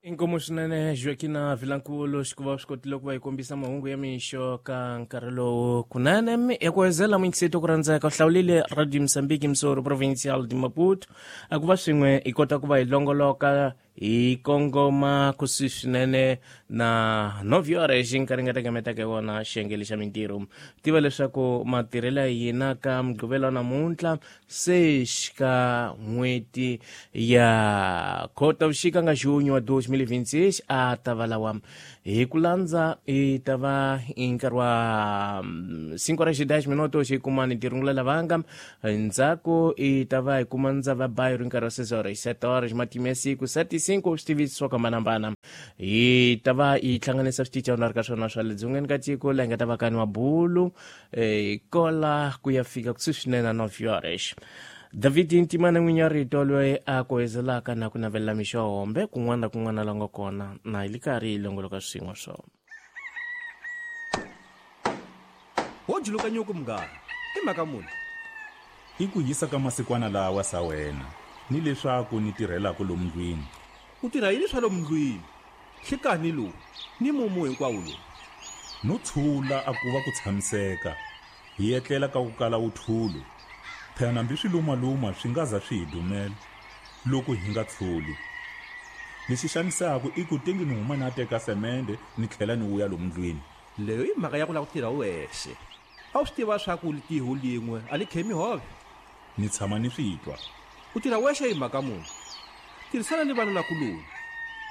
Inkomu swinene Joaquina Vilankulu xikuva swi kotile ku va yi kombisa mahungu ya mixo ka nkarhi lowu kunene ya ku hezela muyingiseti ku rhandzeka u hlawulile Radio Mozambique Msoro Provincial de Maputo a ku va swin'we hi kota ku va hi longoloka hi kongoma kusuhi swinene na novyore xi nkarhi nga tekemetaka hi wona xiyenge xa mintirho. Tiva leswaku matirhelo ya hina ka mugqivela wa namuntlha se xika n'hweti ya Khotavuxika nga junho wa 2026 a ta va lawa hi ku landza i ta va i nkarhi wa 5 horas e 10 minutos hi kuma ni tirungula lavanga ndzhaku i ta va hi kuma ndzava bayo ri nkarhi wa 6 horas 7 horas matimu ya siku 7 5 swi tivisi swo hambanahambana hi ta va hi hlanganisa switichi na ri ka swona swa le dzongeni ka tiko laha hi nga ta va ka nwa bulu kola ku ya fika kusuhi swinene na 9 horas. David Ntimana n'winyi wa rito loyi a kohezelaka na ku navelela mixo ya hombe kun'wana na kun'wana la nga kona na hi li karhi hi longoloka swin'we swo. Wo juluka nyuku munghana, i mhaka muni? I ku hisa ka masikwana lawa sa wena, ni leswaku ni tirhelaka lomu ndlwini. U tirha yini swa lomu ndlwini? Nhlikani lowu ni mumu hinkwawo lowu. No tshula a ku va ku tshamiseka, hi etlela ka ku kala wuthulu. Phela nambi swilumaluma swi nga za swi hi dumela loko hi nga tshuli. Lexi xanisaka i ku tengi ni huma na teka semende ni tlhela ni vuya lomu ndlwini. Leyo i mhaka ya ku lava ku tirha wexe. A wu swi tiva swa ku litiho lin'we a li khemi hove? Ni tshama ni swi twa. U tirha wexe hi mhaka muni? Tirhisana ni vanakuloni,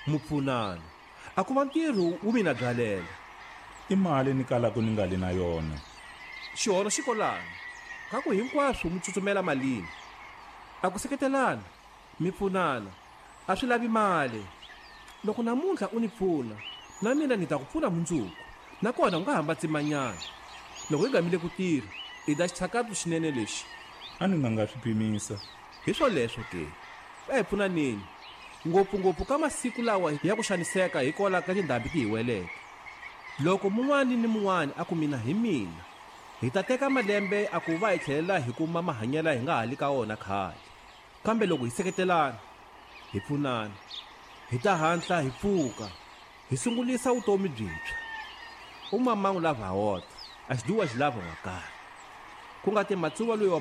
mu pfunana. A ku va ntirho wu mina byalela. I mali ni kalaka ni nga li na yona. Xihono xi kolani, ka ku hinkwaswo mu tsutsumela malini. A ku seketelana, mi pfunana, a swi lavi mali. Loko namuntlha u ni pfuna, na mina ni ta ku pfuna mundzuku. Nakona u nga hamba tsimanyana. Loko hi gamile ku tirha, i da xitshakatu xinene lexi. A ni nga nga swi pimisa. Hi swoleswo ke, a hi pfunaneni, ngopfungopfu ka masiku lawa ya ku xaniseka hikwalaho ka tindhambi ti hi weleke. Loko mun'wani ni mun'wani a ku mina hi mina, hi ta teka malembe a ku va hi tlhelela hi kuma mahanyelo hi nga ha li ka wona khale. Kambe loko hi seketelana, hi pfunana, hi ta hatla hi pfuka, hi sungulisa vutomi byintshwa. U mamangu lava wota, a xiduwa xi lava n'wakaya. Ku nga ti matsuva loyi wa.